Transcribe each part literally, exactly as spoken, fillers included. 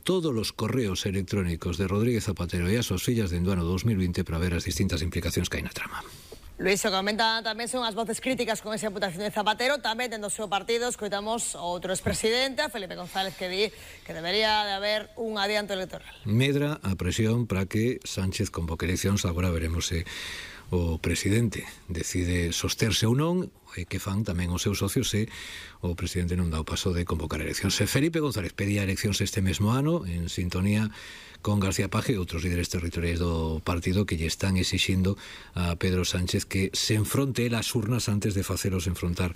todos os correos electrónicos de Rodríguez Zapatero e as súas fillas dende o ano dos mil vinte para ver as distintas implicacións que hai na trama. Luís, o que comenta tamén son as voces críticas con esa imputación de Zapatero, tamén dentro do seu partido escoitamos outro expresidente, Felipe González, que di que debería de haber un adianto electoral. Medra a presión para que Sánchez convoque eleccións, agora veremos se o presidente decide sosterse ou non, e que fan tamén os seus socios se o presidente non dá o paso de convocar eleccións. Felipe González pedía eleccións este mesmo ano en sintonía con García Paje e outros líderes territoriais do partido que lle están exixindo a Pedro Sánchez que se enfronte el ás urnas antes de facelos enfrontar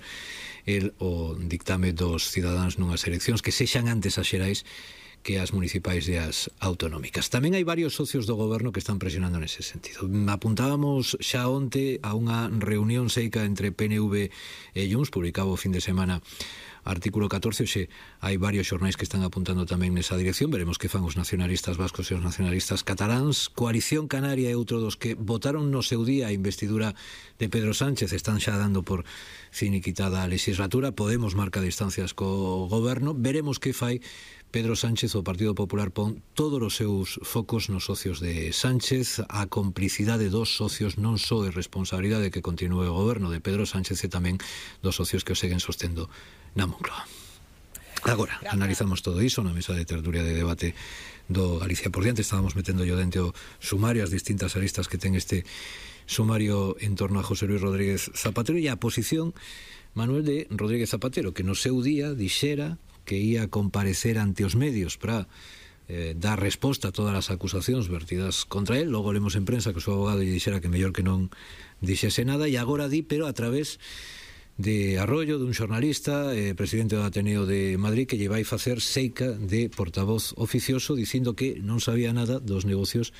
el o dictame dos cidadáns nunhas eleccións que sexan antes as xerais que as municipais e as autonómicas. Tamén hai varios socios do goberno que están presionando nese sentido. Apuntábamos xa onte a unha reunión seica entre P N V e Junts, publicado o fin de semana artículo catorce, xe hai varios xornais que están apuntando tamén nesa dirección. Veremos que fan os nacionalistas vascos e os nacionalistas cataláns. Coalición Canaria é outro dos que votaron no seu día a investidura de Pedro Sánchez, están xa dando por finiquitada a legislatura. Podemos marca distancias co goberno. Veremos que fai Pedro Sánchez. O Partido Popular pon todos os seus focos nos socios de Sánchez. A complicidade dos socios non só é responsabilidade que continúe o goberno de Pedro Sánchez e tamén dos socios que o seguen sostendo na Moncloa. Agora, analizamos todo iso na mesa de tertulia de debate do Galicia por diante. Estábamos metendo yo dentro o sumario, as distintas aristas que ten este sumario en torno a José Luis Rodríguez Zapatero e a posición, Manuel, de Rodríguez Zapatero, que no seu día dixera que ia comparecer ante os medios para eh, dar resposta a todas as acusacións vertidas contra él. Logo lemos en prensa que o seu abogado lle dixera que mellor que non dixese nada, e agora di, pero a través de Arroyo, dun xornalista, eh, presidente do Ateneo de Madrid, que lle vai facer seica de portavoz oficioso dicindo que non sabía nada dos negocios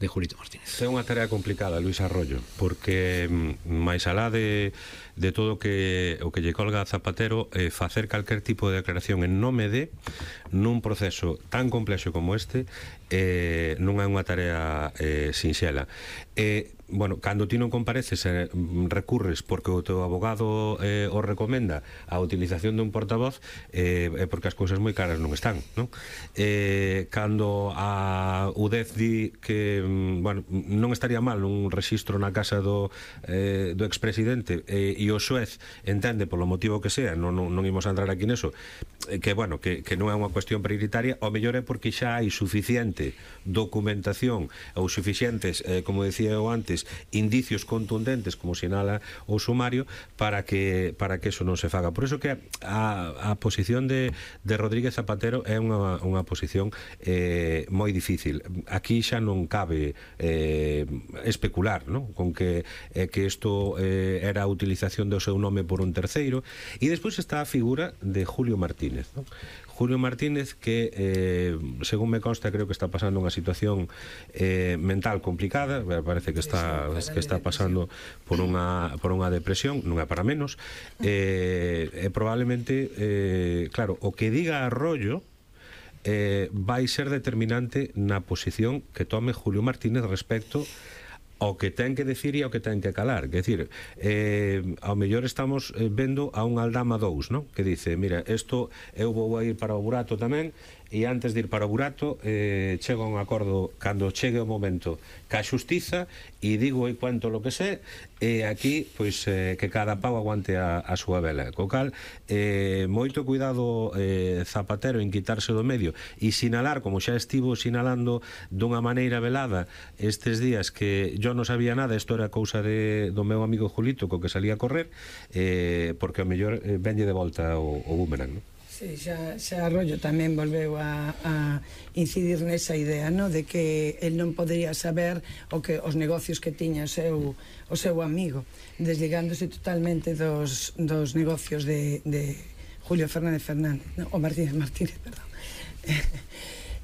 de Julito Martínez. É unha tarea complicada, Luis Arroyo, porque máis alá de, de todo que, o que lle colga a Zapatero, eh, facer calquer tipo de declaración en nome de nun proceso tan complexo como este eh, non é unha tarea eh, sinxela. Eh, bueno, cando ti non compareces eh, recurres porque o teu abogado eh, o recomenda a utilización dun portavoz, eh, é porque as cousas moi caras non están, non? Eh, cando a U D E Z di que bueno, non estaría mal un rexistro na casa do, eh, do expresidente eh, e o xuez entende polo motivo que sea, non, non, non imos a entrar aquí neso, eh, que bueno, que, que non é unha cuestión prioritaria, o mellor é porque xa hai suficiente documentación ou suficientes, eh, como decía eu antes, indicios contundentes, como sinala o sumario, para que para que eso non se faga. Por iso que a, a posición de, de Rodríguez Zapatero é unha, unha posición eh, moi difícil. Aquí xa non cabe eh, especular, ¿no?, con que eh, que isto eh, era a utilización do seu nome por un terceiro. E despois está a figura de Julio Martínez, ¿no? Julio Martínez, que eh, según me consta, creo que está pasando unha situación eh, mental complicada, parece que está que está pasando por unha por unha depresión, non é para menos, eh, e probablemente eh, claro, o que diga Arroyo eh, vai ser determinante na posición que tome Julio Martínez respecto ao que ten que decir e ao que ten que calar. Quer decir, eh, ao mellor estamos eh, vendo a un Aldama dous, ¿no?, que dice, mira, isto eu vou a ir para o burato tamén, e antes de ir para o burato eh, chego a un acordo cando chegue o momento ca xustiza e digo e cuento lo que sé, e aquí pois eh, que cada pau aguante a, a súa vela. Co cal eh, moito cuidado eh, Zapatero en quitarse do medio e sinalar, como xa estivo sinalando dunha maneira velada estes días, que yo non sabía nada, isto era cousa de, do meu amigo Julito co que salía a correr, eh, porque ao mellor eh, venlle de volta o, o boomerang, non? Sí, xa, xa Arroyo tamén volveu a, a incidir nesa idea, no?, de que el non podería saber o que os negocios que tiña o seu, o seu amigo, desligándose totalmente dos, dos negocios de, de Julio Fernández Fernández, no? O Martínez Martínez, perdón.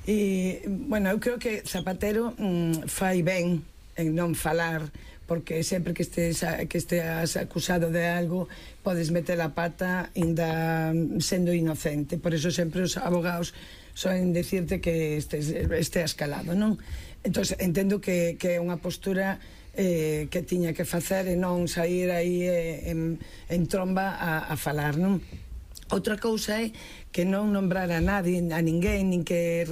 E, bueno, eu creo que Zapatero mm, fai ben en non falar, porque sempre que estes que esteas acusado de algo podes meter a pata ainda sendo inocente. Por eso sempre os abogados soen decirte que estes, esteas calado, non? Entón, entendo que, que é unha postura eh, que tiña que facer e non sair aí eh, en, en tromba a, a falar, non? Outra cousa é que non nombrar a nadie, a ninguén, nin que